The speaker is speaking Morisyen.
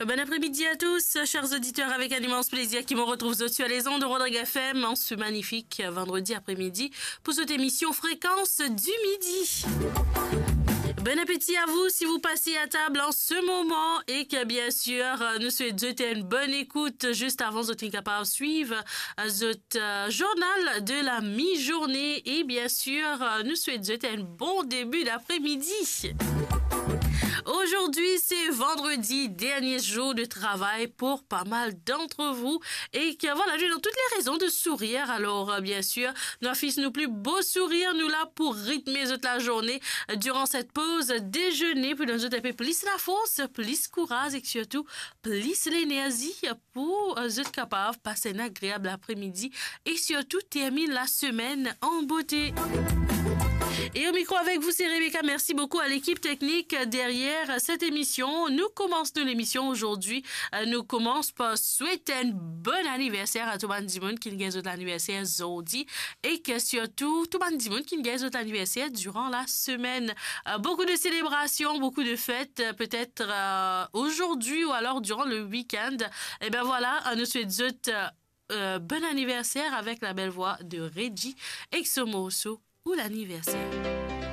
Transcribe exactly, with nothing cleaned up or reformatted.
Bon après-midi à tous, chers auditeurs, avec un immense plaisir ki mo retrouv zot sur les ondes de Rodrigue F M en ce magnifique vendredi après-midi pour cette émission Fréquence du Midi. Bon appétit à vous si vous passez à table en ce moment et que, bien sûr, euh, nou swet zot enn bonne écoute juste avant zot inn kapav swiv, euh, zot, euh, journal de la mi-journée et, bien sûr, euh, nou swet zot enn bon début d'après-midi. Aujourd'hui, c'est vendredi, dernier jour de travail pour pas mal d'entre vous. Et que voilà, nou ena toutes les raisons de sourire. Alors, euh, bien sûr, nou afish nou pli bo sourir, nou la pou ritme zot lazourne, euh, durant cette pause déjeuner, pou donn zot enn pe plis lafors, plis kouraz e sirtou plis lenerzi pou, euh, zot kapav pas enn agreab apremidi e sirtou terminn lasemenn an bote. Et au micro avec vous, c'est Rebecca. Merci beaucoup à l'équipe technique derrière cette émission. Nou koumans nou lemision azordi. Euh, nou koumans par swet enn bon aniverser a tou bann dimoun ki gagn zot laniverser zordi e ke sirtou tou bann dimoun ki gagn zot laniverser durant la semaine. Euh, beaucoup de célébrations, beaucoup de fêtes, euh, peut-être, euh, aujourd'hui ou alors durant le week-end. Et ben voilà, euh, nou swet zot, euh, euh, bon anniversaire avec la belle voix de Reggie et son morceau ou l'anniversaire.